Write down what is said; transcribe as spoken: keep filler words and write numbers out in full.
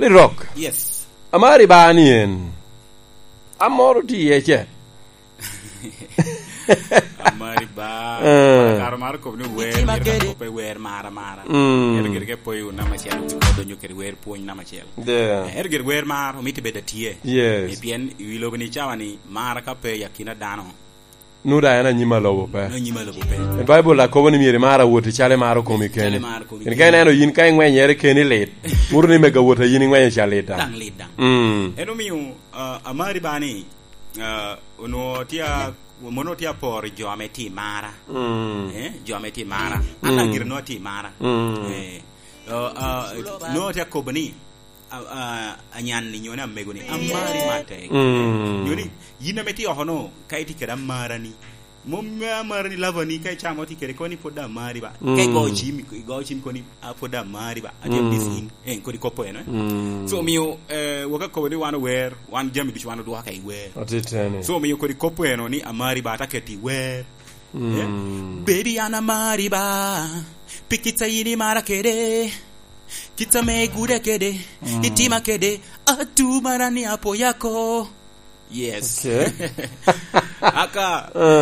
Rock. Yes. Amari ba ni en. Amoro ti iye ce. Amari ba. Eh. Karo mar kop ni wer, myero ka kop pe wer mara mara. Mm. Ero gire ke poyo nama cel, odonyo kede wer pwony nama cel. Yeah. Eh, ero gire wer mar, omito bedo atye. Yes. Eh, pien i wi lobo ni cawa ni mara ka pe i akina dano. Nuda en anyim a lobo pe. Anyim a lobo pe. E Baibul a kobo ni myero imar awoti calo imaro komi keni. Calo imaro komi keni. Ka ineno yin ka ingwenyere keni lit, muro ni mego awot a yin ingwenyo ca lit daŋ. Daŋ lit daŋ. Mm. En omio, ah, amari ba ni, ah, onwo tye a-, mono tye aporo jo ame tye i mara. Mm. Eh, jo ame tye i mara. An daŋ gire nwo atye i mara. Mm. Eh, ah, ah, nwo tye akobo ni, a, a, anyan-ni, nyo ni amego-ni, amari matek. Mm. Nyo ni, yin ame tye oko-no, ka itye kede amara-ni, mom amara-ni, lava-ni, ka icamo tye kede, koni pwod amari ba. Ka igo cim, igo cim koni, "A, pwod amari ba." Atye miss in. Eh, kodi kop eno, eh. Mm. So, omio, eh, wok akobo ni wan ower, wan jami ducu wan odwoka i wer. Atiteni. So, omio kodi kop eno ni amari ba, ata keti i wer. Eh? Baby, an amari ba, pi kit a yin imara kede. Kit ame iguda kede, itima kede, atu mara ni apoya ko. Yes. Okay. Aka,